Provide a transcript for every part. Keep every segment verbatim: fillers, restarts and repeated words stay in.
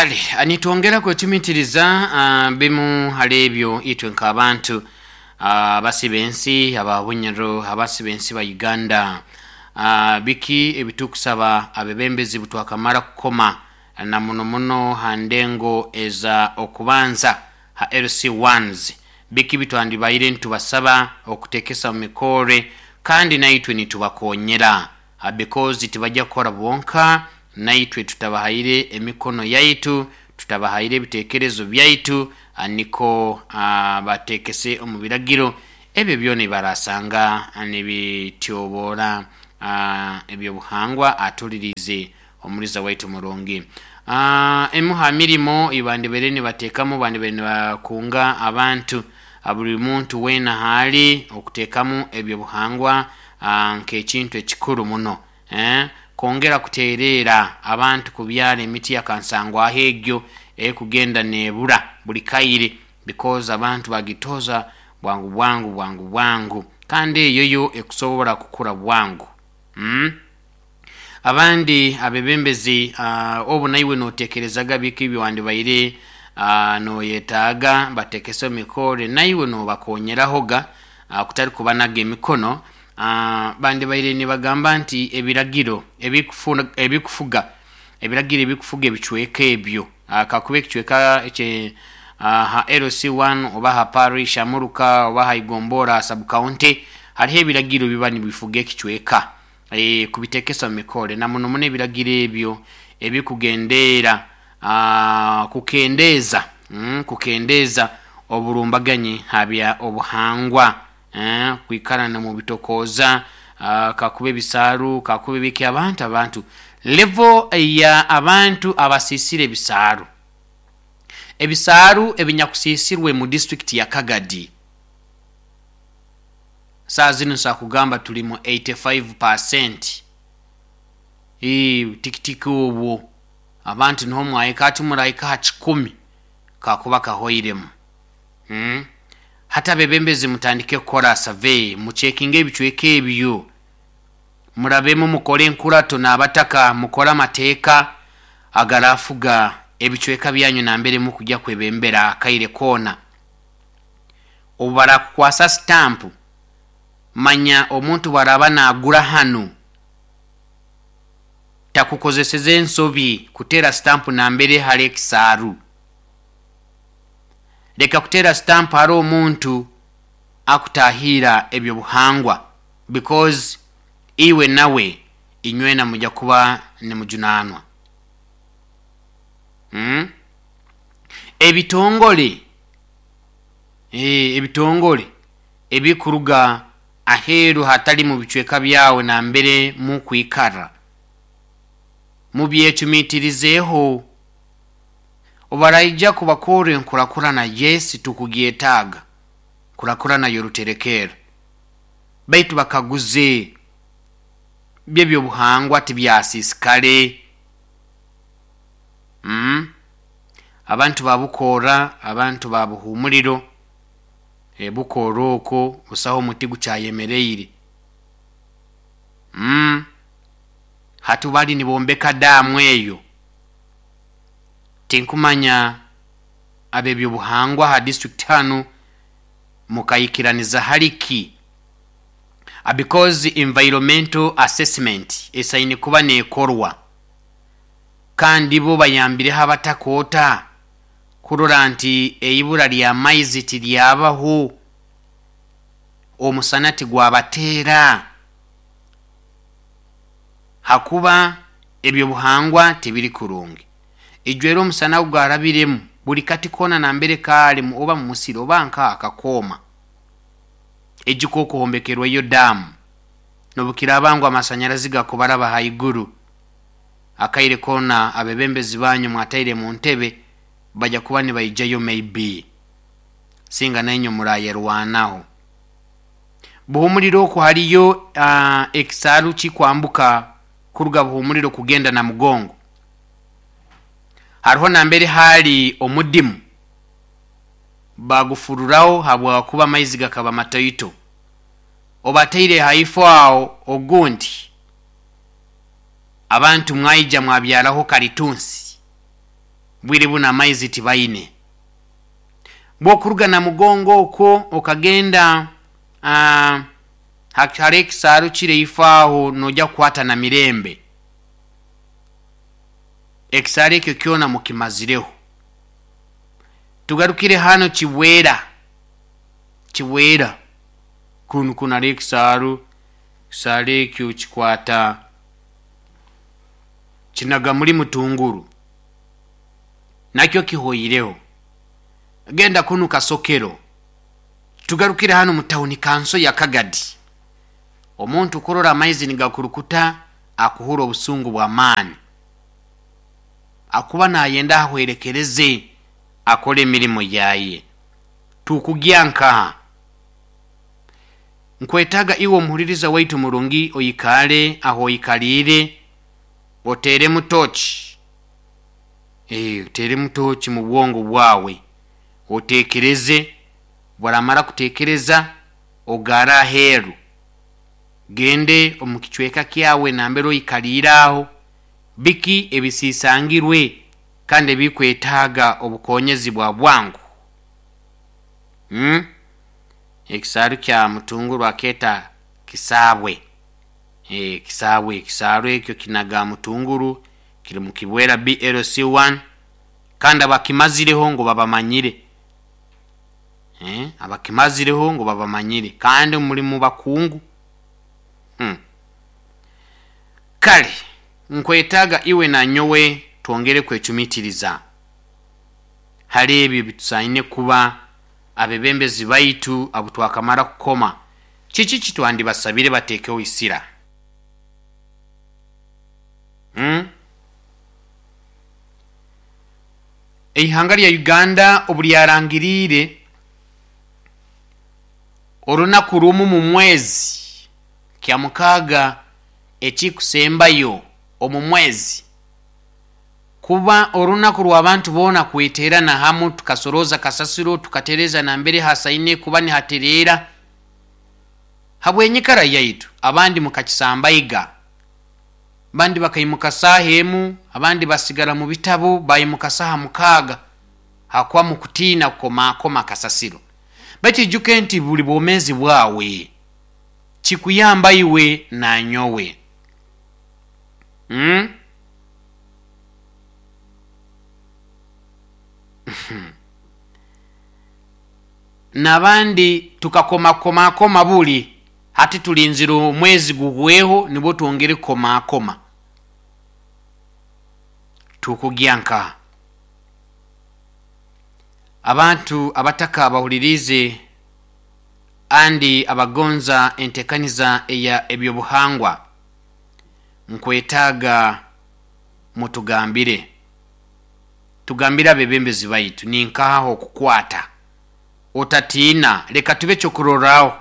Kale nitwongera kwecumitiriza uh, bimu hali ebyo itwe nk'abantu abasi uh, b'ensi aba Bunyoro, abasi b'ensi ba Uganda, uh, biki ebitukusaba abebembezi butwakamara kukoma na muno muno ha ndengo eza okubanza ha L C ones, biki bitwandibaire ntubasaba okutekesa mu mikore kandi naitwe nitubakonyera uh, because tibajja kukora bonka, naitwe tutabahaire emikono yaitu, tutabahaire ebitekerezo byaitu, niko uh, batekese omu biragiro ebyo byona barasanga nibityobora uh, ebyobuhangwa. Atulirize omuliza waitu murungi. Uh, emu ha mirimo ibandibere nibatekamu bandibere nibakunga abantu buli muntu wena hali okutekamu ebyobuhangwa uh, nk'ekintu ekikuru muno eh? Kongera kuterera abantu kubyala emiti yakansangwa ahegyo ekugenda nebura buli kaire, because abantu bagitoza bwangu bwangu bwangu bwangu kandi eyo yo ekusobola kukura bwangu. mm? Abandi abebembezi uh, obu naiwe notekerezaga biki byandibaire uh, noyetaaga batekese mikore naiwe nobakonyerahoga uh, kutari kubanaga emikono. Uh, bandibaire nibagamba nti ebiragiro ebikufuga ebikufuga ebiragiro ebikufuga ebicweka ebyo uh, kakuba ekicweka ekye uh, ha L C one oba ha parish amuruka oba ha igombora sub county, hariho ebiragiro biba nibifuga ekicweka e, kubitekesa mu mikore na muno muno ebiragiro ebyo ebikugendera uh, kukendeza mm, kukendeza oburumbaganyi habya obuhangwa eh, kwikarana mu bitokoza uh, kakube bisaru kakube biki abantu abantu level ya abantu abasisire bisaru ebisaru ebinyakusisirwe mu district ya Kagadi saa zino sa kugamba tuli mu eighty-five percent. Ee tikitiki obwo abantu niho mwayika ati murayika ha kikumi kakuba kahoiremu. hmm? Hata bebembezi mutandike kukora survey, muchekinge ebicweka ebyo, murabemu mukore enkurato n'abataka, mukore amateeka agarafuga ebicweka byanyu nambere mukujya kwebembera akaire kona. Obu barakukwasa stamp, manya omuntu baraba nagura hano takukozeseze ensobi kutera stamp nambere hali ekisaaru. Leka kutera stamp hari omuntu akutahira ebyo buhangwa, because iwe nawe inywena mujya kuba nimujunanwa. Hmm? Ebitongole eh ebitongole ebikuruga aheru hatali mu bicweka byawe na mbere mu kwikara mubyecumitirizeho obaraija kubakore nkurakurana. Yes, tukugyetaaga kurakurana yoruterekero, baitu bakaguze byebyo buhangwa tibyasisikale. Mm. Abantu babukora, abantu babuhumuliro e bukora oko busaho omuti gucyayemereire. Mm. Hatu bali nibombeka damu eyo tinkumanya abebyo buhangwa ha district hanu mukayikiraniza haliki, because environmental assessment esaini kuba nekorwa kandi bo bayambireho abatakota kurora nti eibura lya maizi tilyabaho, omusana tigwabateera, hakuba ebyo buhangwa tibiri kurungi. Ijwero omusana gwarabiremu buli kati kona nambere kali mu oba mu musiri oba nka akakoma ejiko okuhombekerwa iyo damu nobukirabangwa amasanyarazi gakubaraba haiguru akaire kona abebembezi banyu mwataire mu ntebe bajya kuba nibaijayo maybe singa nenyo murayerwanaho. Buhumuliro oku haliyo uh, ekisaru kikwambuka kuruga buhumuliro kugenda na mugongo, hariho nambere hali omudimu bagufururaho habwa kuba amaizi gakaba matoito, obateire haifo aho ogundi abantu mwaija mwabyaraho kalitunsi. Bwire buno amaizi tibaine. Bwokuruga Namugongo okwo okagenda uh, hali ekisaaru kire ifaaho nojja kukwata na Mirembe, ekisaaru ekyo kyona mukimazireho. Tugarukire hano Kibwera, Kibwera kunu kunu hali ekisaaru, ekisaaru ekyo kikwata kinaga muri Mutunguru, nakyo kihoireho. Genda kunu Kasokero. Tugarukire hano mu tawuni kanso ya Kagadi, omuntu kurora amaizi nigakurukuta akuhura obusungu bw'amaani, akuba nayenda ahwerekereze akole emirimu yaye. Tukugya nkaha? Nkwetaga iwe omuhuliriza waitu murungi oikale aho oikaliire, oteremu tochi, e, oteremu tochi mu bwongo bwawe, otekereze. Bwaramara kutekereza ogara aheeru, gende omu kicweka kyawe nambere oikaliire aho, biki ebisisangirwe kandi ebikwetaaga obukonyezi bwa bwangu. hmm? Ekisaaru kya Mutunguru aketa Kisaabwe, e, Kisaabwe, ekisaaru ekyo kinaga Mutunguru, kiri mu Kibwera B L C one, kandi abakimazireho ngo babamanyire. Eh, abakimazireho ngo babamanyire kandi muri mu bakungu. hmm. Kale nkwetaga iwe na nyowe twongere kwecumitiriza hali ebyo bitusaine kuba abebembezi baitu abo twakamara kukoma. Kiki kitwandibasabire batekeho isira? hmm? Eihanga lya Uganda obulyarangiriire orunaku rumu mu mwezi kya mukaaga ekikusembayo omu mwezi kuba orunaku rw'abantu boona kweterana hamu, tukasoroza kasasiro, tukatereza nambere hasaine kuba nihaterera habwenyikara yaitu. Abandi mukakisambaiga, abandi bakaimuka saaha emu, abandi basigara mu bitabo baimuka saaha mukaaga hakuba mukutiina kukomakoma kasasiro. Baitu ijuke nti buli bwomezi bwawe kikuyamba iwe nanyowe. hmm? Nabandi tukakomakomakoma buli hati tulinzira omwezi guhweho nibwo twongere kukomakoma. Tukugya nka abantu abataka bahulirize andi abagonza entekaniza eya ebyobuhangwa, nkwetaaga mutugambire, tugambire abebembezi baitu ninkaho okukwata. Otatiina, leka tube kyokurorraho.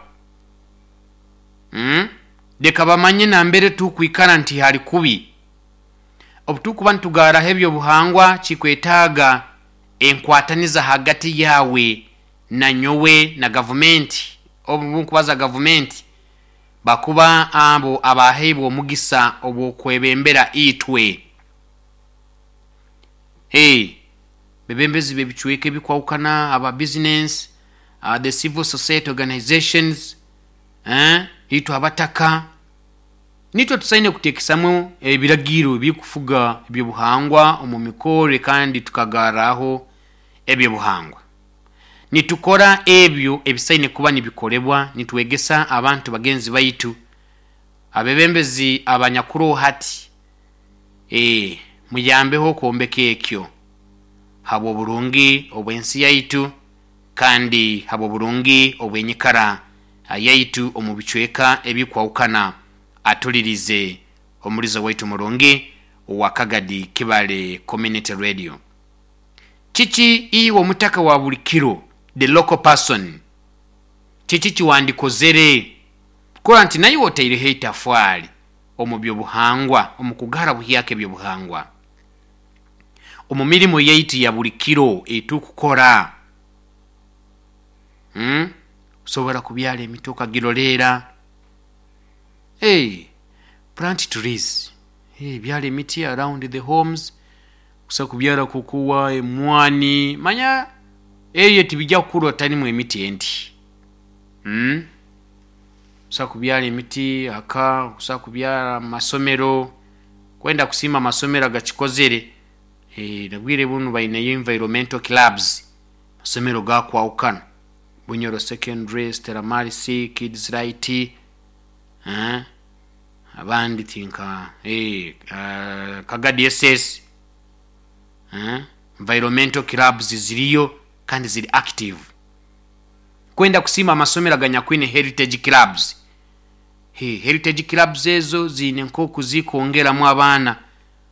hmm? Leka bamanye nambere tukwikara nti hali kubi. Obutukuba nitugaraho ebyobuhangwa kikwetaaga enkwataniza hagati yawe na nyowe na gavumenti. Obu nkubaza gavumenti bakuba abo abaheibwa omugisa obwokwebembera itwe. Hey, bebembezi bebicweka ebikwahukana, aba business, uh, the civil society organizations, eh, itwe abataka nitwe tusaine kutekesamu ebiragiro ebikufuga ebyobuhangwa omu mikore kandi tukagaraho ebyobuhangwa. Nitukora ebyo ebisaine kuba nibikorebwa, nitwegesa abantu bagenzi baitu abebembezi abanyakuru hati, e, muyambeho kwombeka ekyo habwo burungi obwensi yaitu kandi habwo burungi obwenyikara yaitu omu bicweka ebikwahukana. Atulirize omulizo waitu murungi wa Kagadi Kibale Community Radio. Kiki iwe omutaka wa buli kiro, the local person, kiki kiwandikozere kora nti naye otaireho itafwali omu byobuhangwa, omu kugara buhyaka ebyobuhangwa omu mirimu yaitu ya buli kiro etukukora? hmm? Osobola kubyala emiti okagirolera. Hey, plant trees. Hey, byala emiti around the homes, Okusobola kubyara kokowa, emwani, manya ebyo tibijja kukura otalimu emiti endi, mm? Okusobola kubyara emiti aka, okusobola kubyara mumasomero. Kwenda kusiima amasomero agakikozere, eh, nobwire bunu baineyo environmental clubs, amasomero gakwahukana, Bunyoro Secondary, Stella Maris, Kids Light, eh, abandi tinka eh, uh, Kagadi S S, eh, environmental clubs ziriyo kandi ziri active. Kwenda kusiima amasomero aganyakwine heritage clubs. He, heritage clubs ezo ziine nk'oku zikwongeramu abaana.